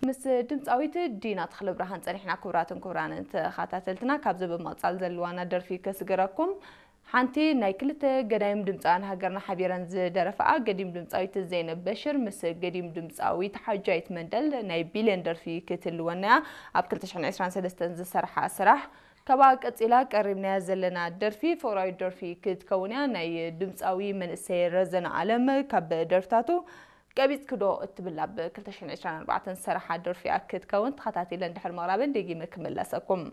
ምስ ድምፃዊት ዲና ተኽለብርሃን ጸኒሕና። ክቡራትን ክቡራንን ተኸታተልትና፣ ካብዚ ብምቕጻል ዘለዋና ደርፊ ከስግረኩም። ሓንቲ ናይ ክልተ ገዳይም ድምፃውያን ሃገርና ሓቢረን ዝደረፋኣ፣ ገዲም ድምፃዊት ዘይነብ በሽር ምስ ገዲም ድምፃዊት ሓጃይት መንደል ናይ ቢልዮን ደርፊ ክትልወና እያ። ኣብ ክልተ ሽሕን ዕስራን ሰለስተን ዝሰርሓ ስራሕ፣ ካብኣ ቀጺላ ቀሪብናያ ዘለና ደርፊ ፍቕራዊት ደርፊ ክትከውን እያ። ናይ ድምፃዊ መንእሰይ ረዘነ ኣለም ካብ ደርፍታቱ ቀቢጽክዶ እትብል ኣብ ክልተ ሽሕን ዕስራን ኣርባዕተን ዝሰርሓ ደርፊ እያ ክትከውን። ተኸታቲለ እንድሕር ምቕራበን ደጊመ ክምለሰኩም።